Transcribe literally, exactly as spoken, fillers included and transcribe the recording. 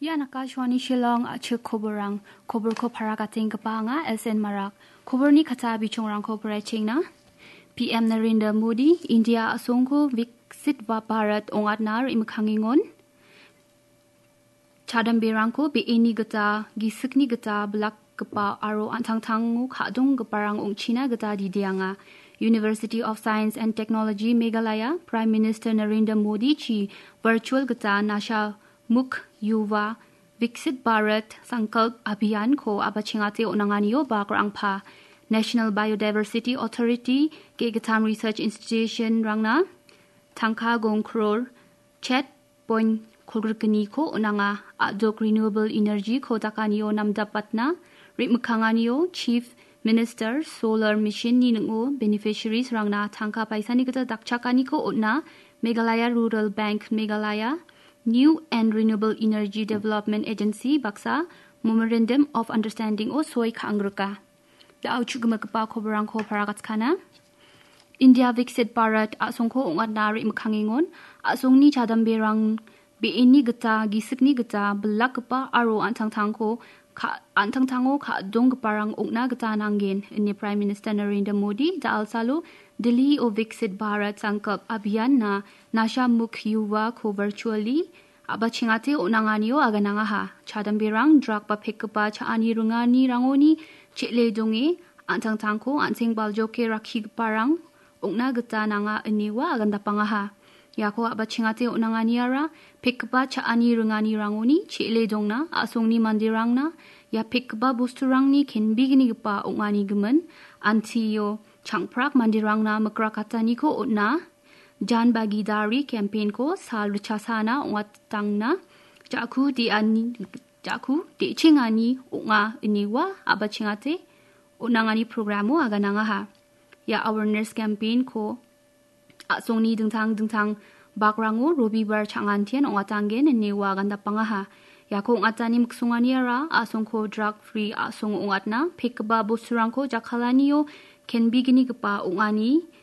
Ian Akashvani Shillong a·chik koborrang. Koborko paragatenggipa anga S N Marak. Koborni kata bichongrangko poraichengna. P M Narendra Modi, India a·songko Viksit Va-, Bharat ong·atna re·mikkangengon. Chadamberangko be·eni gita, gisikni gita, bilakgipa aro an·tangtango ka·donggiparang ong·china gita dideanga. University of Science and Technology Meghalaya, Prime Minister Narendra Modi chi virtual gita Nasha Mukh Yuva Viksit Bharat Sankalp Abhiyan ko abachengate on·anganio bagrangpa. National Biodiversity Authority ge·gittam research institution rangna tangka gong crore chet point kolgrikgniko on·anga. A·dok renewable energy ko dakanio namdapatna re·mikkanganio Chief Minister Solar Mission-ni ning·o beneficiaries-rangna tangka paisani gita dakchakaniko on·a. Meghalaya Rural Bank Meghalaya New and Renewable Energy Development Agency baksa Memorandum of Understanding-o soi ka·angrika. Da·o chu·gimigipa koborrangko paragatkana. India Viksit Bharat a·songko ong·atna re·mikkangengon. A·songni chadamberang be·eni gita, gisikni gita, bilakgipa aro an·tangtangko ka-, an·tangtango ka·donggiparang ong·na gita nanggen, ine Prime Minister Narendra Modi da·alsalo Delhi-o Viksit Bharat Sankalp Abhiyan-na Nasha Mukh Yuva ko virtually a·bachengate on·anganio aganangaha. Chadamberang drug ba pekgipa cha·ani ringanirangoni che·le donge an·tangtangko an·seng baljoke rakkigiparang ong·na gita nanga ine ua agandapangaha. Iako a·bachengate on·anganiara pekgipa cha·ani ringanirangoni che·le dongna a·songni manderangna ia pekgipa bosturangni kenbegnigipa ong·ani gimin antio changprak manderangna mikrakataniko on·a. Jan Bhagidari campaign-ko sal richasana ong·atangna ja·ku de·ani, ja·ku de·chengani ong·a ine ua a·bachengate on·angani programo aganangaha. Ia awareness campaign-ko a·songni dingtang dingtang bakrango Robibar chang·antian ong·atanggen ine ua agandapangaha. Iako ong·atani miksonganiara a·songko drug free a·song ong·atna pekgipa bosturangko jakkalanio kenbegnigipa ong·ani